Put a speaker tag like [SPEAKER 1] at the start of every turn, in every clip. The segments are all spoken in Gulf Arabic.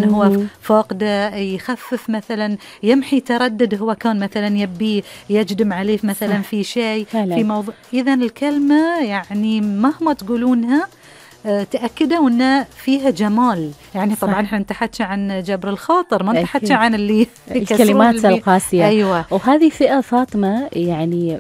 [SPEAKER 1] هو فاقده، يخفف مثلا، يمحي تردد هو كان مثلا يبي يجدم عليه مثلا في شيء في موضوع. إذا الكلمة يعني مهما تقولونها تأكدوا أن فيها جمال. يعني طبعا احنا نتحكي عن جبر الخاطر، ما نتحكي عن اللي
[SPEAKER 2] الكلمات القاسية.
[SPEAKER 1] أيوة.
[SPEAKER 2] وهذه فئة فاطمة يعني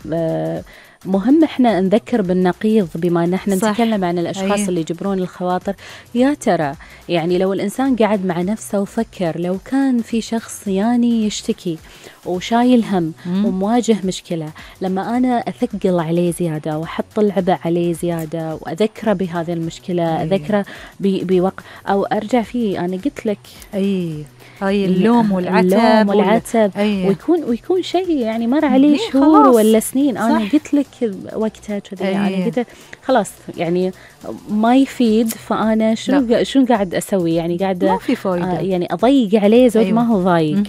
[SPEAKER 2] مهم احنا نذكر بالنقيض، بما ان احنا نتكلم عن الاشخاص اللي يجبرون الخواطر. يا ترى يعني لو الانسان قعد مع نفسه وفكر، لو كان في شخص يعني يشتكي وشايل هم ومواجه مشكلة، لما أنا أثقل عليه زيادة وأحط العبء عليه زيادة وأذكره بهذه المشكلة، أذكره بوقت أو أرجع فيه، أنا قلت لك
[SPEAKER 1] اللوم والعتب
[SPEAKER 2] ويكون شيء يعني مر عليه شهور ولا سنين. أنا قلت لك وقتها كذا، أنا قلت خلاص يعني ما يفيد، فأنا شنو قاعد أسوي؟ يعني قاعد
[SPEAKER 1] ما في فايدة،
[SPEAKER 2] يعني أضيق عليه زود ما هو ضايق.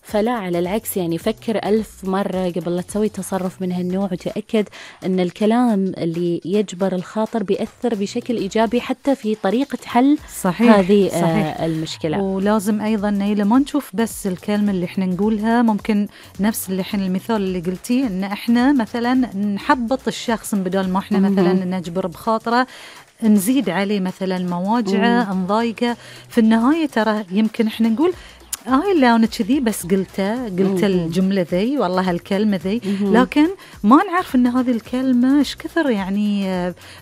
[SPEAKER 2] فلا، على العكس يعني فكر 1000 مرة قبل لا تسوي تصرف من هالنوع، وتأكد أن الكلام اللي يجبر الخاطر بيأثر بشكل إيجابي حتى في طريقة حل هذه المشكلة.
[SPEAKER 1] ولازم أيضا نيلة ما نشوف بس الكلمة اللي احنا نقولها، ممكن نفس اللي احنا المثال اللي قلتيه، أن احنا مثلا نحبط الشخص بدل ما احنا مثلا نجبر بخاطره، نزيد عليه مثلا مواجعه، نضايقه. في النهاية ترى يمكن احنا نقول لا أنا كذي بس قلت الجملة ذي، والله هالكلمة ذي، لكن ما نعرف أن هذه الكلمة إيش كثر يعني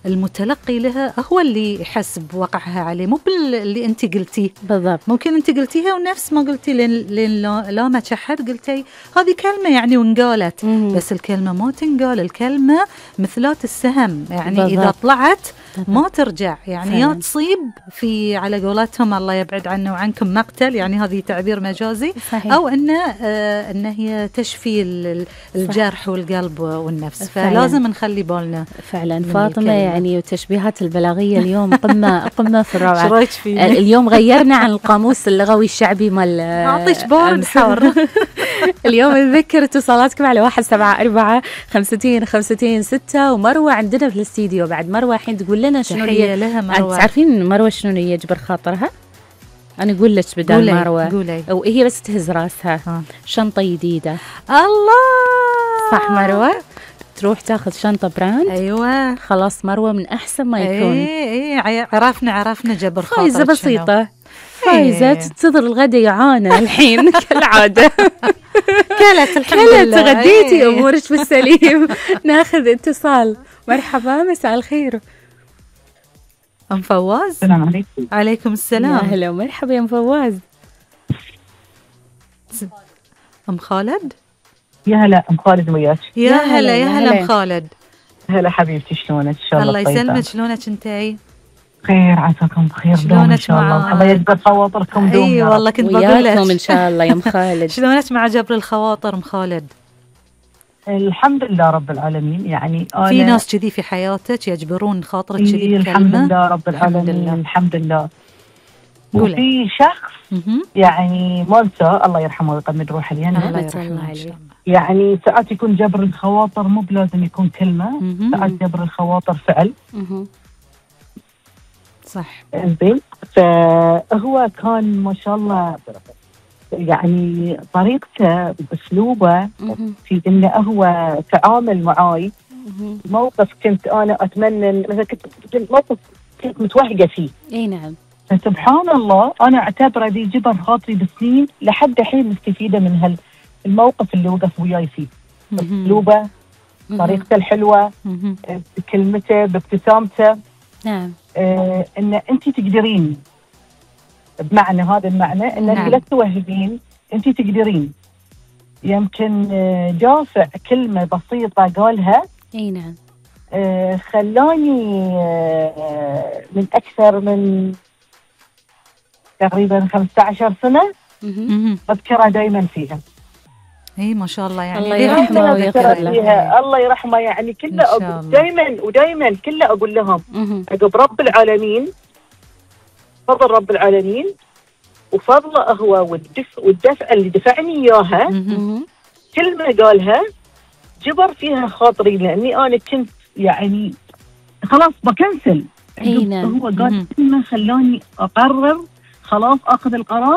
[SPEAKER 1] المتلقي لها هو اللي يحس بوقعها عليه، مو باللي أنت قلتيه
[SPEAKER 2] بالضبط.
[SPEAKER 1] ممكن أنت قلتيها ونفس ما قلتي لا ما تشحد، قلتي هذه كلمة يعني وانقالت، بس الكلمة ما تنقال. الكلمة مثلات السهم، يعني بالضبط. إذا طلعت ما ترجع، يعني يا تصيب في على قولتهم الله يبعد عنا وعنكم مقتل، يعني هذه تعبير مجازي، صحيح. أو أن هي تشفي الجرح والقلب والنفس. فلازم نخلي بالنا
[SPEAKER 2] فعلا. فاطمة يعني وتشبيهات البلاغية اليوم قمة في الروعة. اليوم غيرنا عن القاموس اللغوي الشعبي مال
[SPEAKER 1] أعطيش بورد حار.
[SPEAKER 2] اليوم نذكر اتصالاتكم على 174 50 50 6. ومروة عندنا في الاستديو بعد. مروة الحين تقول لنا شنو
[SPEAKER 1] لها مروة.
[SPEAKER 2] تعرفين مروة شنو يجبر خاطرها؟ أنا أقول لك بدل مروة، وهي بس تهز راسها. شنطة جديدة.
[SPEAKER 1] الله،
[SPEAKER 2] صح مروة؟ تروح تاخذ شنطة براند.
[SPEAKER 1] أيوة
[SPEAKER 2] خلاص مروة من أحسن ما يكون.
[SPEAKER 1] عرفنا جبر خاطر.
[SPEAKER 2] فايزة بسيطة، فايزة تنتظر الغدا يعانى الحين كالعادة.
[SPEAKER 1] كلت الحمد لله،
[SPEAKER 2] غديتي أمورك بالسليم. ناخذ اتصال. مرحبا، مساء الخير.
[SPEAKER 1] أم فواز.
[SPEAKER 3] السلام عليكم.
[SPEAKER 1] عليكم السلام.
[SPEAKER 2] يا هلا ومرحبا يا أم فواز.
[SPEAKER 1] أم خالد.
[SPEAKER 3] يا هلا أم خالد وياك.
[SPEAKER 1] يا هلا أم خالد.
[SPEAKER 3] هلا حبيبتي، شلونك؟ إن شاء الله
[SPEAKER 1] الله يسلمك. شلونك أنتي؟
[SPEAKER 3] خير، عساكم بخير.
[SPEAKER 1] شلونك
[SPEAKER 3] إن شاء الله. الله يجبر خواطركم دوم.
[SPEAKER 1] أي والله كنت بقول لك
[SPEAKER 2] إن شاء الله يا أم خالد.
[SPEAKER 1] شلونك مع جبر الخواطر أم خالد؟
[SPEAKER 3] الحمد لله رب العالمين. يعني
[SPEAKER 1] في ناس كذي في حياتك يجبرون خاطرك كذي بكلمة؟
[SPEAKER 3] الحمد لله رب العالمين. الحمد لله. وفي شخص يعني مالته الله يرحمه ويقمد روحه الجنة،
[SPEAKER 1] الله يرحمه عليه.
[SPEAKER 3] يعني ساعات يكون جبر الخواطر مو بلازم يكون كلمة، ساعات جبر الخواطر فعل.
[SPEAKER 1] صح.
[SPEAKER 3] زين. فهو كان ما شاء الله يعني طريقته باسلوبه في انه هو تعامل معاي. موقف كنت انا اتمنى مثلا، كنت موقف كنت متوهقه فيه.
[SPEAKER 2] اي نعم.
[SPEAKER 3] فسبحان الله انا اعتبره ذي جبر خاطري بسنين، لحد الحين مستفيده من الموقف اللي وقف وياي فيه. اسلوبه، طريقته الحلوه، بكلمته، بابتسامته.
[SPEAKER 2] نعم.
[SPEAKER 3] ان انت تقدرين، بمعنى هذا المعنى ان انت لا توهقين، انت تقدرين. يمكن جافع كلمه بسيطه قالها.
[SPEAKER 2] اي نعم.
[SPEAKER 3] خلاني من اكثر من تقريبا 15 سنه اذكرها دائما فيها.
[SPEAKER 1] اي ما شاء الله، يعني
[SPEAKER 2] الله يرحمه ويغفر له.
[SPEAKER 3] الله يرحمه. يعني كله دائما كله اقول لهم عقب رب العالمين، فضل رب العالمين وفضله هو والدفع اللي دفعني اياها. كلمه قالها جبر فيها خاطري، لاني انا كنت يعني خلاص بكنسل. هو قال كلمه خلاني اقرر خلاص اخذ القرار